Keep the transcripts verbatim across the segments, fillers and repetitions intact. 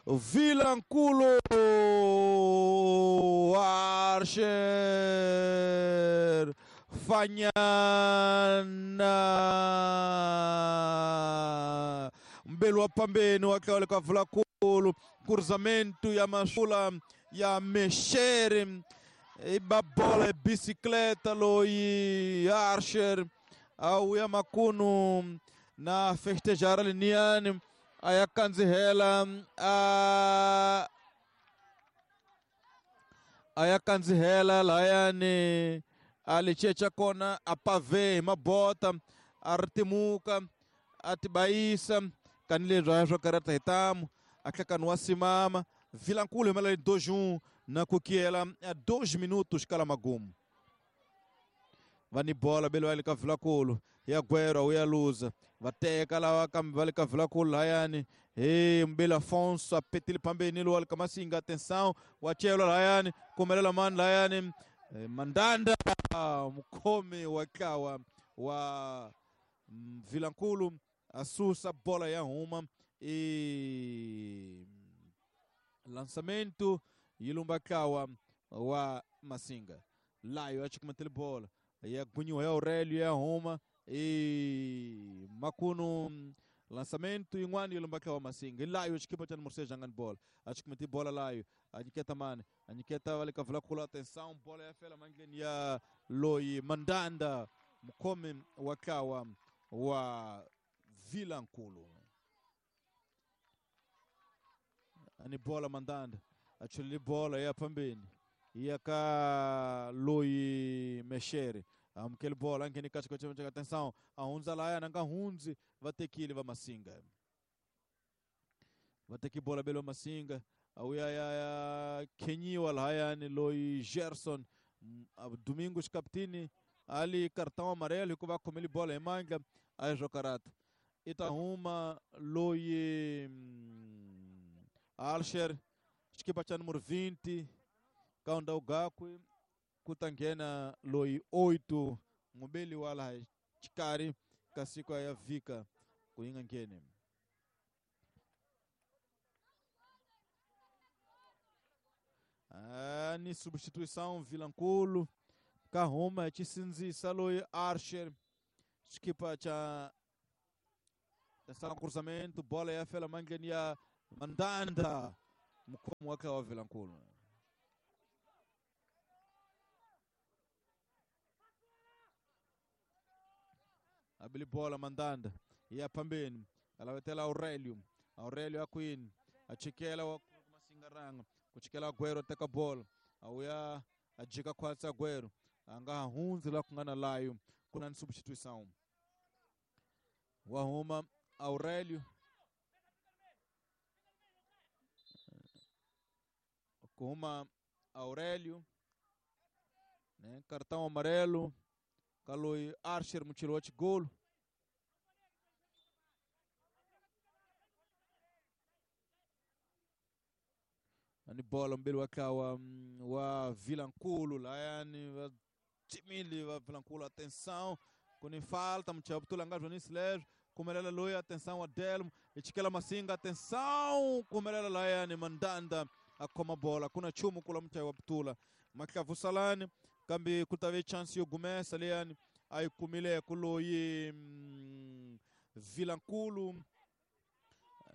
Vilankulo Archer Fanyana mbelu wa pambeni wa tlawale ka Vilankulu cruzamento ya Mashula ya Mexere iba bola e bicicleta loyi Archer auya makunu na festejar liniani aya kanzihela a aya kanzihela layani alichecha kona apave mabota artimuka atibaisa kanile zwa karata hitamu atlakanu simama Vilankulo mela dois um na kukiela a dois minutos kala magumu vani bola belo ali ka Vilankulo ya Guero uya luza vateka lawa kambe vale ka Vilankulo layani hey Mbele Afonso apetile pambeni lo alika Masinga atenção wachelo layani kumelela man layani Mandanda mukome wakawa wa Vilankulo asusa bola ya huma e lançamento ilumbakawa wa Masinga layo achikumantele bola ya Gunho ya Aurélio ya Roma e makuno lançamento inwani ilumbakawa Masinga layo equipa cha Morse jangan bola achikumante bola layo aniketa mane aniketa wale kavula kula atenção bola ya fela mangeni ya Loi Mandanda mukome wakawa wa Vilankulo ani bola Mandanda achuli bola ya pambeni yaka Loi Mexere amkele bola angeni kacha kacha atenção ahunza laya nanga hunzi vatekile va Masinga vateki bola belo Masinga auya ya ya kenyiwa layani Loi Gerson Domingos capitini ali cartão amarelo que vai comer bola em manga a jocarata Itahuma Loi Alcher equipa cha número vinte kaunda ugakwe kutangena Loi oito mubeli wala chikari kasiko ya vika kuinga ngene ah, ni substituição Vilankulo Kahuma chisinzisa Loi Archer equipa cha atenção cruzamento bola ya fela mangeni ya Mandanda mkomo wake wa Vilankulo abili bola Mandanda ya pambeni alawetela Aurélio Aurélio akwini achikela wa Masingaranga kuchikela Agüero teka bola auya ajika kwatsa Agüero anga hunzi la kungana layo kuna substituição wahuma Aurélio kuma Aurélio né cartão amarelo Kaloi Archer mutirou golo ani bola mbele wakawa wa Vilankulo layani wa timili wa Vilankulo atenção kuni falta mchabutula ngazvo ni slash kumelela loya atenção Adelmo ichikela Masinga atenção kumelela layani Mandanda akoma bola kuna chumu kula mchai wa Butula maklavusalani kambi kutave chance yo gumesa leyani ayikumile kuloyi mm, Vilankulo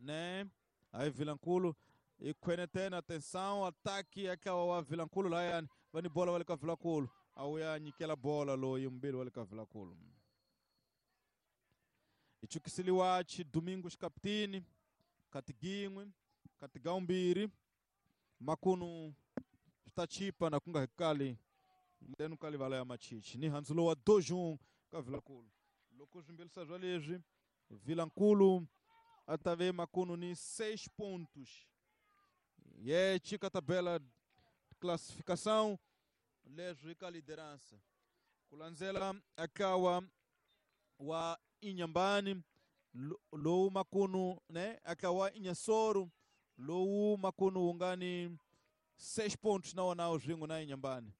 né aí Vilankulo ikhwene tena atenção ataque akawa wa Vilankulo layani vani bola wale ka Vilankulo auya nyikela bola loyi mbili wale ka Vilankulo ichukisiliwachi Domingos capitini katigingwe katigaumbiri makunu tachipa na kunga hekali mtenu kali vala ya machichi ni hanzulo wa dojun ka Vilankulo loko zvimbelisa zwa leswi Vilankulo atave makunu ni seis pontos ye chika tabela de classificação leswi ka liderança kulandzela akawa wa Inhambane lowu makunu né akawa Inhassoro lowu makunu ungani seis pontos na wana zvingo na Inhambane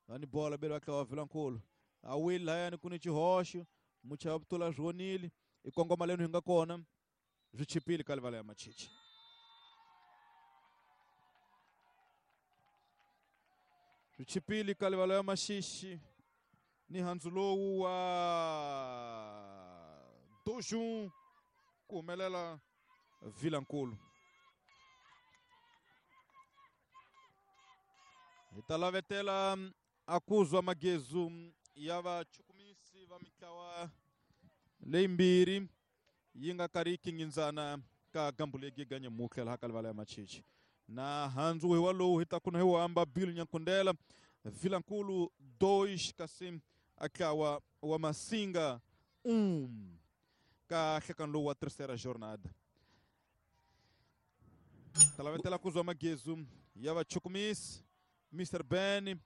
vani bola belo akawa Vilankulo awili layani kuni chihoxo muchabutula zvonile ikongoma lenu hinga kona zvichipile kalivala ya machichi. Swi chipile ka livalo ya Maxixi ni handzu lowu wa Dojun ku humelela Vilankulu. Hi ta lavetela a kuzwa magezu ya vachukumisi va mitlawa leyimbirhi yi nga karhi ngindzana ka gambulegi ganye muhle laha ka livala ya Machichi. Na handzu hi walowu hi ta kuna hi wamba Bill Nyankundela Vilankulu dois kasi atlawa wa Masinga um ka hlekano lowu wa terceira jornada. Talavetela kuzwa magezu ya vachukumisi Mister Ben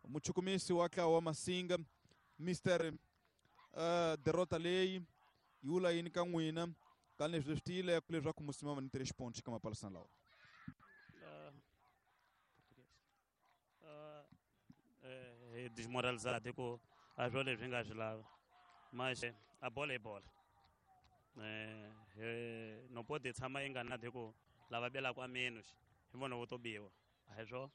muchukumisi wa tlawa wa Masinga Mister uh, derrota leyi yula yini ka n'wina ka leswi swi tiyile ku leswaku musimama ni três pontos ka mapalisana lawa. Uh, uh, desmoralizado ku a swo leswi nga swi lava mas a bola i bola eh, não pode tshama yi nga na ku lava belaka a menos hi vona vo to biwa a hi swo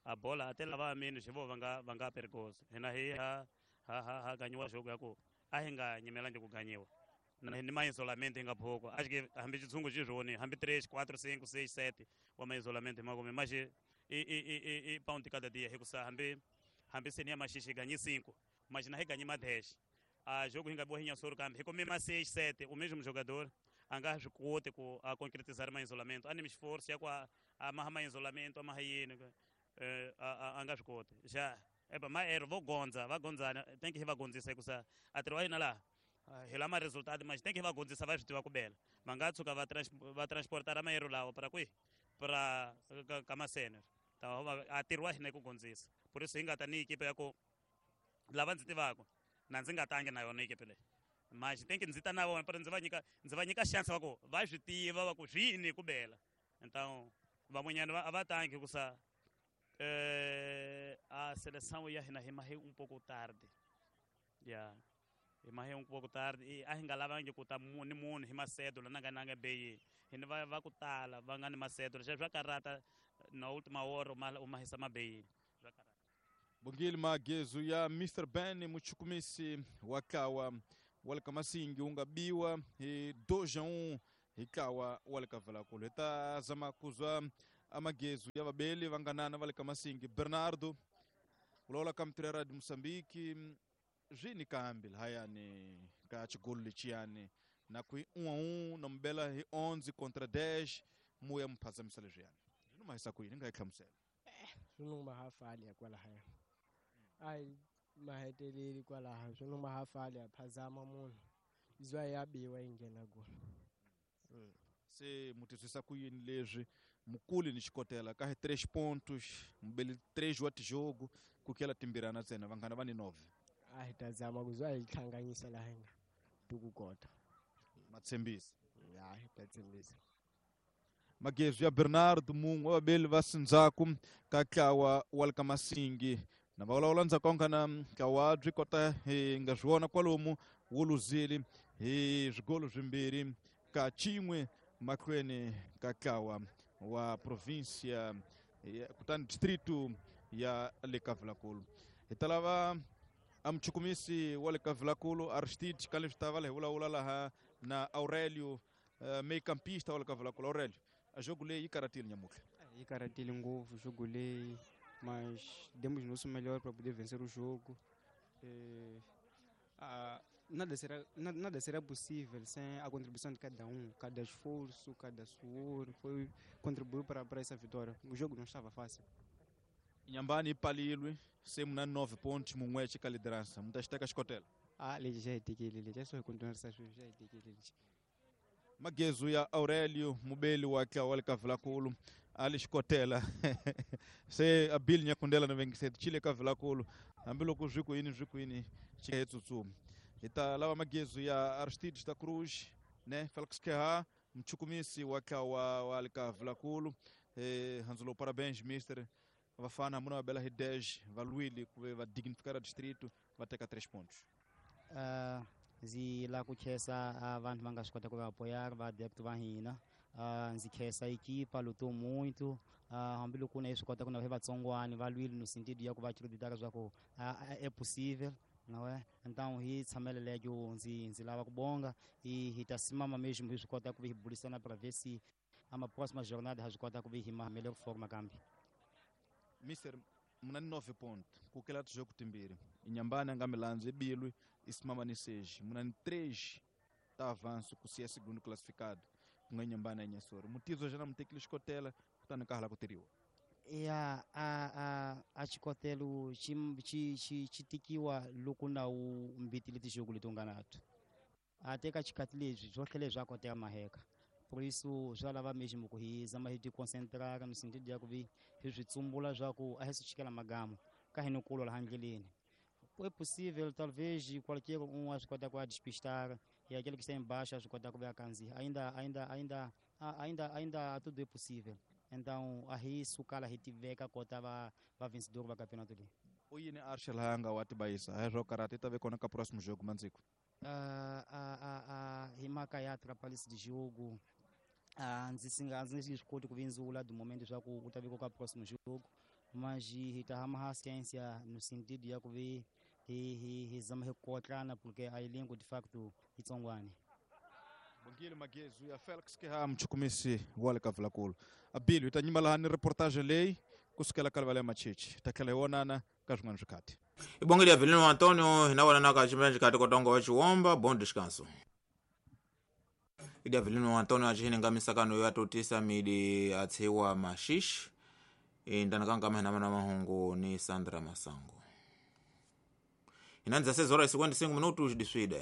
a bola a te lava a menos hi vo va nga va nga perigoso hina hi ha ha ha ha ganyiwa xoko ya ku a hi nga nyimelangi ku ganyiwa ni ma isolamento hi nga phoko acho que hambi xitshungu xi swoni hambi três quatro cinco seis sete wa ma isolamento hi makume mas i i i i pound cada dia hikusa hambi hambi seni ya Maxixi hi ganyi cinco mas na hi ganyi ma dez a jogo hi nga biwa hi nyasoro kambe hi kume ma seis sete o mesmo jogador a nga swi koti ku a concretizar ma isolamento a ni esforço ya ku a maha ma isolamento a maha yini a nga swi koti xa epa ma ero vo gondza va gondzana tem que hi va gondzisa hikusa a tirho wa hina laha hi lama resultado mas tem que hi va gondzisa va swi tiva ku bela va nga tshuka va va transportar maero lawa para kwihi para ka masene a tirho wa hina ku gondzisa por isso hi nga ta ni ekipe ya ku lava ndzi tivaka na ndzi nga tangi na yona ekipe leyi mas tem que ndzi ta na vona para ndzi va nyika ndzi va nyika chance va ku va swi tiva va ku swi yini ku bela então van'wanyana a va tangi hikusa eh, a seleção ya hina hi mahe um pouco tarde yeah hi mahe um pouco tarde e a hi nga lavangi ku ta ni munhu hi masedo la nga nanga beyi hi ni va va ku tala va nga ni masedo leswi swa karata na última hora u mahisa mabeyini swa karata. Bongile magezu ya Mister Ben muchukumisi wa tlawa wa le ka Masingi wu nga biwa hi dois a um hi tlawa wa le ka Vilankulu. Hi ta zama kuzwa amagezu ya vabeli vanganana va le ka Masingi Bernardo vulavula ka mitirho ya Moçambique swi ni kambi lahayani ka xigolo lexiyani na ku hi um a um na mubela hi onze contra dez muya mu phazamisa leswiyani swi ni mahisa ku yini nga yi hlamusela swi numa ha fali ya kwalahaya a hi maheteleli kwalaha swi numa ha fali ya phazama munhu izwa ya biwa yi nghena golo. Se mu twisisa ku yini leswi mukuli ni xikotela ka hi três pontos mubeli três wa tijogo ku kela timbirana ntsena vanghana va ni nove a hi ta zama ku zwa hi hlanganyisa laha hi nga tukukota matshembisa ya hi ta tshembisa. Magezu ya Bernardo mun'we wa vabeli va sindzhaku ka tlawa wa le ka Masingi na va vulavula ndzhaku ka nghana ntlawa byi kota hi nga swi vona kwalomu wu luzile hi swigolo swimbirhi ka xin'we mahlweni ka tlawa wa provincia kutani distrito ya le ka Vilankulu. Hi ta lava a muchukumisi wa le ka Vilankulu Aristide ka leswi ta va hi vulavula laha na Aurélio uh, meio-campista wa le ka Vilankulu. Aurélio, a jogo leyi yi karatile nyamutlha. Yi karatile ngopfu jogo leyi, mas demos o nosso melhor para poder vencer o jogo. Eh, ah, nada será, nada, nada será possível sem a contribuição de cada um, cada esforço, cada suor, foi contribuiu para, para essa vitória. O jogo não estava fácil. Inhambane ipalilwe se muna nove pontos mun'we ka liderança muta xiteka xikotela. Ah, lexi xa hitekile lexi a swi hi continuarisa sweswi xa hitekile lexi. Magezu ya Aurélio mubeli wa tlawa wa le ka Vilankulu a li xikotela se a Bill Nyakundela na vengiseti chile ka Vilankulu hambiloko swi ku yini swi ku yini xi he tsutsumi. Hi ta lava magezu ya Aristides da Cruz ne Felix Keha muchukumisi wa tlawa wa le ka Vilankulu. Eh, Hanzulo, parabéns mister vafana muna va bela hi dez va lwile ku ve va dignificar distrito va teka três pontos. Uh, ndzi lava ku khensa vanhu va nga swi kota ku va apoyar va adepto va hina Uh, ndzi khensa equipa lutou muito uh, hambiloko na hi swi kota ku na va vatsongwani va lwile no sentido ya ku va acreditaka swa ku uh, é possível, não é? Então hi tshamela leyo ndzi ndzi lava ku bonga e hi ta simama mesmo hi swi kota ku vi hi burisana para ver se a próxima jornada ha swi kota ku vi hi ma melhor forma kambe. Mister, muna ni nove ponto kukela tijogo timbirhi inyambani a nga milandzu ibilwi isimama ni seis muna ni três ta avanço ku siya segundo classificado ku nga Inhambane ya Inhassoro mutizo jana mutekile xikotela kutani ka hala ku tirhiwa. Ya a a a xikotelo xi xi xi xi tikiwa loko na wu mbitile tijogo leti u nga nato a teka xikhathi leswi swo tlhela swa koteka maheka. Por isso swa lava mesmo ku hi zama hi ti concentrar no sentido ya ku vi hi swi tsumbula swa ku a hi swi chikela magama ka hi ni kulwa laha ndleleni. É possível, talvez qualquer um a swi kota ku a despistar e aquele que está embaixo a swi kota ku va kandziya. Ainda ainda ainda ainda ainda tudo é possível. Então a hi sukala hi tiveka kota va va vencedor va campeonato ali. U yini Arshel hanga wa tibayisa hi swo karata ta ve kona ka próximo jogo mandziko. Uh, a a a hi mhaka ya atrapalhise de jogo uh, ndzi singa ndzi swi koti ku vindzula do momento swa ku u ta ve ka próximo jogo, mas hi ta hama ha ciência no sentido ya ku vi hi hi hi zama hi kotlana porque a elenco de facto itsongwani. Bongile Magezu ya Felix Keha mchukumisi wale ka Vulakulu. Abili hi ta nyima laha ni reportage leyi kusukela ka Livala ya Machichi ta tlhela hi vonana ka swin'wana swikhathi. Ibongile Avelino Antonio hina na ka chimene chikati kotongo wa Chiwomba. Bom descanso. Idi Avelino Antonio achihine nga misakano yo atotisa midi atsiwa mashish indanakanga mahina mana mahungu ni Sandra Masango. Inanza seis horas e cinquenta e cinco minutos de Suída.